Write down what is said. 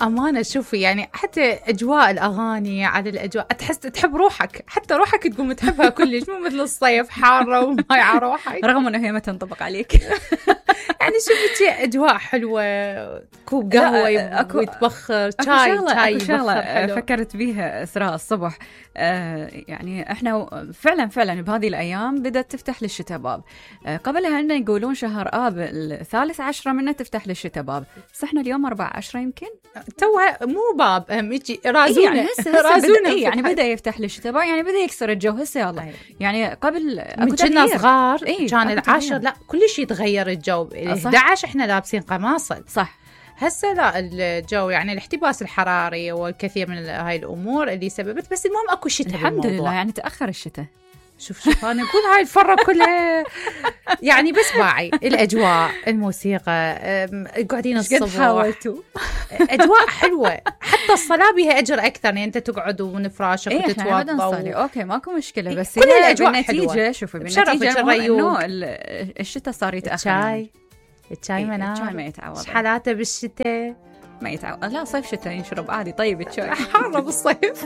أمانة شوفي يعني حتى أجواء الأغاني على الأجواء تحس تحب روحك، حتى روحك تقوم تحبها كلش، مو مثل الصيف حارة ومايعة روحك. رغم أنه هي ما تنطبق عليك. يعني شوفي أجواء حلوة، كوب قهوة يتبخر، شاي يتبخر. فكرت بيها إسراء الصبح. يعني إحنا فعلا بهذه الأيام بدأت تفتح للشتاء باب. قبلها إنه يقولون شهر آب 13 منه تفتح للشتاء باب، بس إحنا اليوم 14 يمكن توها مو باب يجي رازونة رازونة يعني بدأ يفتح للشتاء باب، يعني بدأ يكسر الجو هسه يلا. يعني قبل كنا صغار كان 10 لا كل شيء يتغير الجو. 11 إحنا لابسين قماصل صح. هسه لا الجو يعني الاحتباس الحراري والكثير من هاي الأمور اللي سببت، بس المهم أكو شتاء الحمد لله. يعني تأخر الشتاء. شوف أنا أقول هاي الفرة كلها يعني بس باعي الأجواء، الموسيقى، قاعدين الصبح حاولتوا أجواء حلوة، حتى الصلاة بها أجر أكثر. يعني أنت تقعد ونفراشك وتتوضى أوكي ماكو مشكلة، بس كل الأجواء حلوة. شوفي بالنتيجة إنه الشتاء صار يتأخر. الشاي ما يتعوض. حالاته بالشتاء ما يتعوض. لا صيف شتاء ينشرب عادي. طيب الشاي حارة بالصيف.